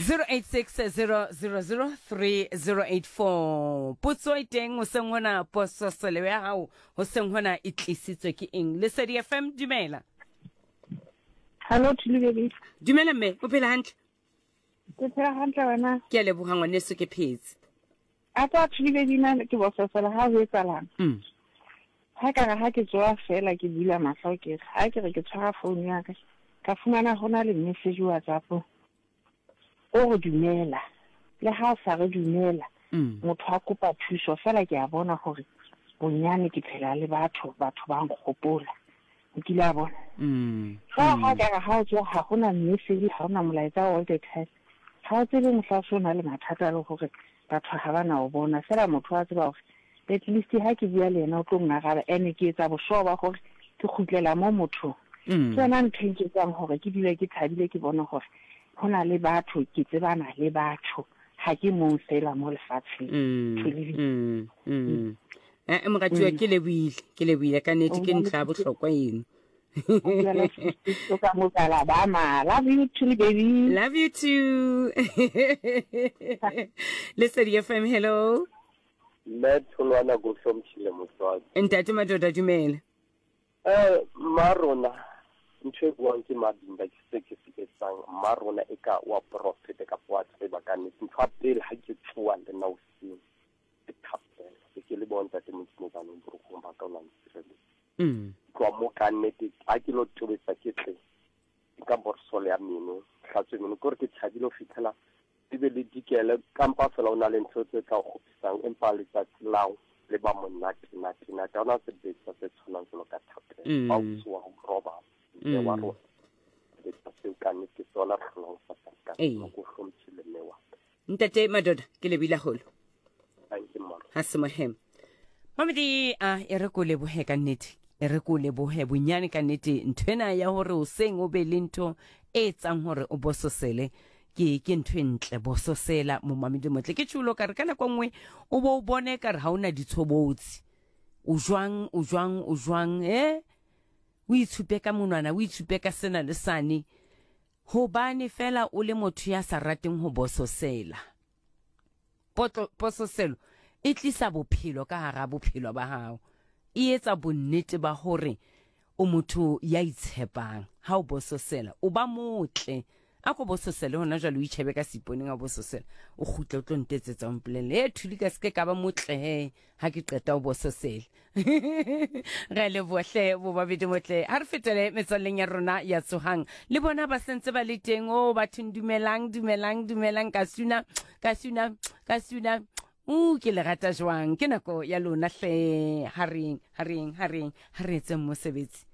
0860003084 potso e teng hoseng hona pososelo ya hao hoseng hona e tlisitswe ke eng lesedi fm dumela Hello Thuli baby. Dumela mme, o phela hantle? Ke phela hantle wena. Ke a leboha ngwaneso ke phetse. A tsa Thuli baby na ke bososela ha ho etsalang. Ha ka re ha ke tsoa fela ke bula mahlo ke re ha ke re ke tshwara phone ya ka ka fumana ho na le message WhatsApp o re dumela le ha o sa re dumela motho a kopa thuso fela ke a bona hore bonyane ke phela le batho batho ba nkgopola o kile a bona fa ha ka re ha o tsoa ha hona message ha hona molaetsa all the time ha o tsebe mohla o se o na le mathata le hore batho ha ba na o bona fela motho wa tseba hore at least ha ke bua le yena o tlo ngaraba ene ke etsa boshoa ba gore ke kgutlela mo mothong ke yona ntho e nketsang hore ke dule ke thabile ke bone gore ho na le batho ke tsebana le batho ha ke mong fela mo lefatsheng Eh, moratuwa ke lebohile ke lebohile ka nnete ke ntlha ya bohlokwa eno Alabama. Love you too, baby. Love you too. Lesedi FM, hello. Mme Tholwana ko hlomphile motswadi. Ntate Madoda dumela. Eh mma rona ntho e buang ke Mabimba ke se ke se etsang mma rona e ka wa profeta kapa wa tseba ka nnete ntho ya pele ha ke tsoa le nna hoseng ke thapelo ke ke le bona ntate Modimo baneng borokgong ba ka o la ntshireletsa tloha mo ka nnete ha ke lo tobetsa ke tle ka borsolo ya meno hlatswe meno ke gore ke thabile ho fitlhela le be le dikele kampa fela o na le ntho tse tla o kgopisang empa letsatsi lao le ba monate nate nate ha ona sebetsa se tshwanang jwalo ka thapelo ba o tsoha o robala mme wa rona sebetsa seo ka nnete sona re hlolang sa ka ko hlomphile mme wa ka Ntate Madoda ke lebile haholo. Ha se mohema. Mamedi a e re ko lebohe ka nnete. E re ko lebohe bonyane ka nnete nthwena ya hore hoseng o be le ntho e etsang hore o bososele ke ke ntho e ntle bososela momamedi motle ke tšhulo ka re ka nako nngwe o bo o bone ka re ha o na ditshobotsi o jwang o jwang o jwang eh o itshupe ka monwana o itshupe ka sena le sane Hobane feela o le motho ya sa rateng ho bososela. Potlo, pososelo e tlisa bophelo ka hara bophelo ba hao. E etsa bonnete ba hore o motho ya itshepang. Ha o bososela, o ba motle. A ko bososele hona jwale o itjhebe ka seiponeng a bososela. O kgutle o tlo ntetsetsa o mpolelle, e Thuli ka seke ka ba motle he ha ke qeta o bososele. Re a leboha hle bobabedi motle. Ha re fetele metswalleng ya rona ya tsohang. Le bona ba sentse ba le teng. O bathong dumelang, dumelang, dumelang ka suna, ka suna, ka suna. U ke le rata jwang. Ke nako ya lona hle. Ha reng, ha reng, ha reng, ha re etseng mosebetsi.